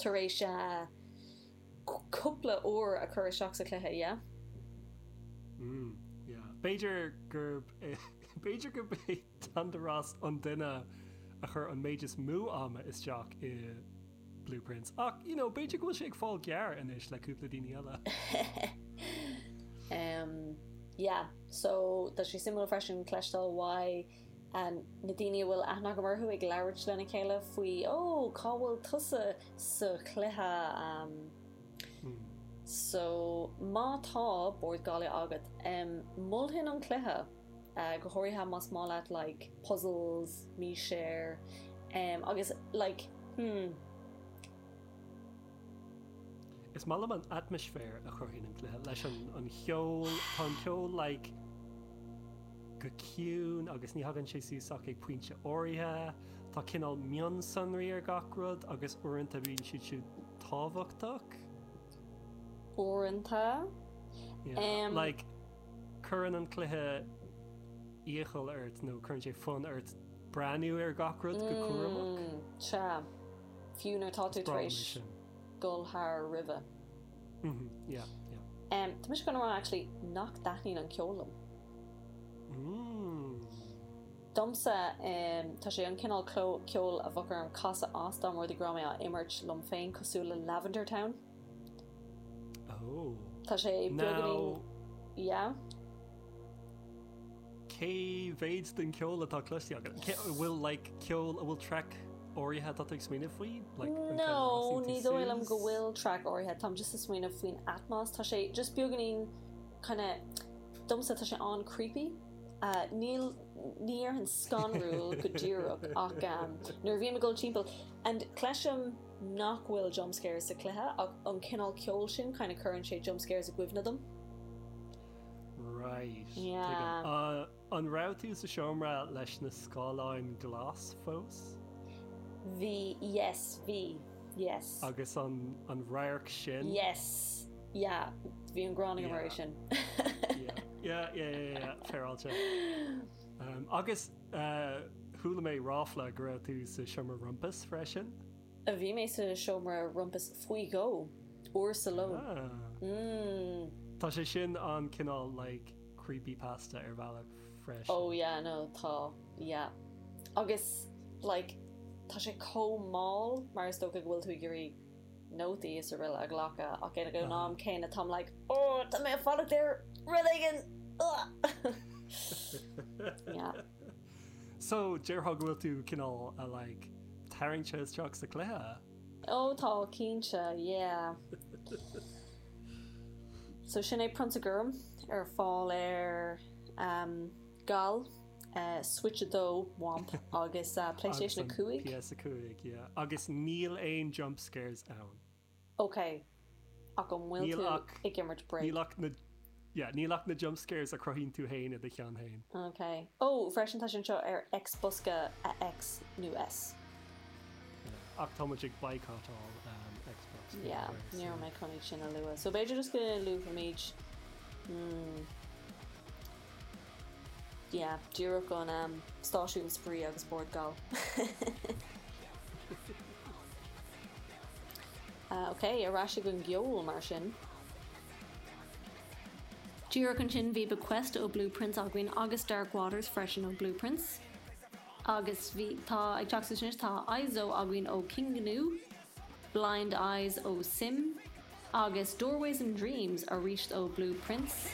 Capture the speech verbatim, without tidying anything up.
tar éis uh, cúpla uair a chur isteach sa chluiche, yeah? Mm, yeah. B'fhéidir gurb b'fhéidir gurb é Dandaras an duine a chuir an méid is mó ama isteach i Blue Prince. Ach you know, b'fhéidir go bhfuil sé ag fáil gearr anois le cúpla daoine eile. Um, yeah, so tá sé suimiúil freisin cloisteáil uaidh um, na daoine a bhfuil aithne agam orthu ag labhairt lena chéile faoi ó cá bhfuil tusa sa chluiche um, Mm. So má tá Bord Gála agat um, mholfainn an cluiche uh, go háirithe más maith leat like puzzles, míséir um, agus like hmm, Is maith liom an atmaisféar a chruthaíonn an cluiche leis an an cheol tá an ceol like go ciúin agus ní thagann sé suas ach ag pointe áirithe, Tá cineál mionsonraí ar gach rud agus uaireanta bíonn siad siúd tábhachtach. uaireanta. Yeah. Um, like cuireann an cluiche iachall ort nó cuireann sé fonn ort breathnú ar gach rud go cúramach. Mm, Sea fiú nuair tá tú tar Breá éis sin. dul thar roimhe. Mhm, yeah, yeah. Um, Tá mise chun rá actually nach dtaitníonn an ceol liom. Mm. Domsa um, tá sé an cineál ceol a bheadh orm casadh as dá rud go raibh mé á imirt liom féin cosúil le Lavender Town. Oh. Tá sé Now, beagáinín yeah. cé mhéad den ceol atá cloiste agat? Cé- bhfuil like ceol a bhfuil track áirithe atá tú ag smaoineamh faoi? Like, an No, ceann a ní rasaíonn tú dóigh liom go suas? bhfuil track áirithe Táim just ag smaoineamh faoin atmos Tá sé just beagáinín kind of domsa tá sé an-creepy. Uh, níl ní an scanrúil go díreach ach um, nuair bhím ag dul timpeall and cloisim nach bhfuil jump scares sa chluiche ach an cineál ceol sin kind of cuireann sé jump scares i gcuimhne dom. Right. Yeah. Tuigim. Uh, an raibh tú sa seomra leis na scáileáin glas fós? Bhí yes bhí yes Agus an an radharc sin? yes yeah bhí an ghráin mar Yeah. sin. Yeah, yeah, yeah, yeah, yeah, féaráilte. Um, agus uh, chuala mé ráfla go raibh tú sa seomra rumpus freisin? A bhí mé sa seomra rumpus faoi dhó uair sa ló. Ah. Mm. Tá sé sin an cineál like creepy pasta ar bhealach freisin. Oh yeah no tá yeah. Agus like tá sé chomh mall mar is dócha go bhfuil tú ag iarraidh nótaí is araile a ghlacadh ach ag an am céanna táim like oh tá mé fanacht ar rud éigin Ugh." yeah. So déarfá go bhfuil tú cineál a like tarraingthe isteach sa chluiche? Ó tá cinnte yeah. So sin é Prionsa Gorm ar fáil ar um, Gal uh, Switch a dó Womp agus uh, PlayStation a cúig. PS a cúig, yeah. Agus níl aon jump scares ann. Ok ach an bhfuil Níl tú ach- ag imirt break. Níl ach na yeah, níl ach na jump scares a chruthaíonn tú féin i do cheann féin. Ok. Ó freisin tá sin seo ar Xbosca a X nó S. Ach tá muid ag boycottáil um, Xbox. faoi Yeah, láthair, ní so- mé chun sin a lua. So b'fhéidir just go luafaimid hmm, yeah, díreach an um, stáisiún spraoi agus Bord Gal. uh, ok, ar ais ag an gceol mar sin. Díreach ansin bhí Bequest ó Blue Prince againn agus Dark Waters freisin ó Blue Prince. Agus bhí tá ag teacht sin tá ISO againn ó King Gnu, Blind Eyes ó Sim, agus Doorways and Dreams arís ó Blue Prince.